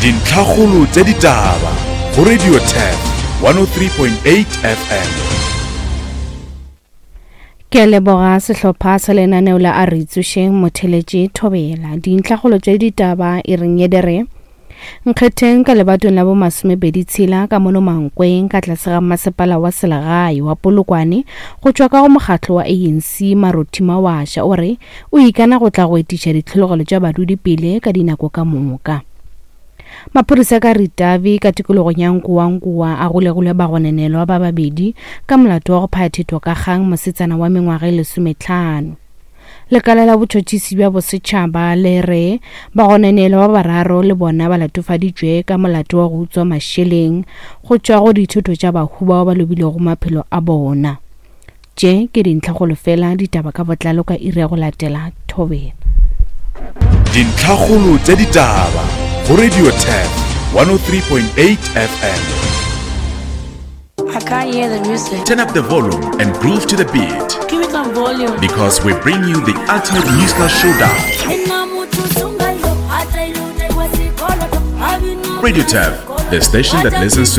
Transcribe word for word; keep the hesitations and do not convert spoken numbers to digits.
Dintlhakgolo tša ditaba go Radio Turf one oh three point eight F M. Ke a leboga sehlopha sa lenaneo la A Re Tsošeng Motheletše Thobela. Dintlhakgolo tša ditaba e reng ye dere Nkgetheng ka lebatong la bo masomepedi tshela ka mono Mankweng ka tlase ga masepala wa selegae wa Polokwane go tšwa ka go mokgatlo wa A N C Marothi Mawasha o re o ikana go tla go etiša ditlhologelo tša badudi pele ka dinako ka moka. Maphodisa ka Ritavi ka tikologong ya Nkowankowa a golegilwe bagononelwa ba babedi ka molato wa go phaya ka kgang mosetsana wa mengwaga e lesometlhano. Lekala la botšhotšhisi bja bosetšhaba le re bagononelwa ba bararo le bona ba latofaditšwe ka molato wa go utswa mašeleng go tšwa go dithoto tša bahu bao ba lobilego maphelo a bona. Tše ke dintlhakgolo fela, ditaba ka botlalo ka iri ya go latela Thobela. Dintlhakgolo tša ditaba go Radio Turf one oh three point eight F M. I can't hear the music. Turn up the volume and groove to the beat. Give me some volume. Because we bring you the ultimate musical showdown. Radio Turf, the station that listens to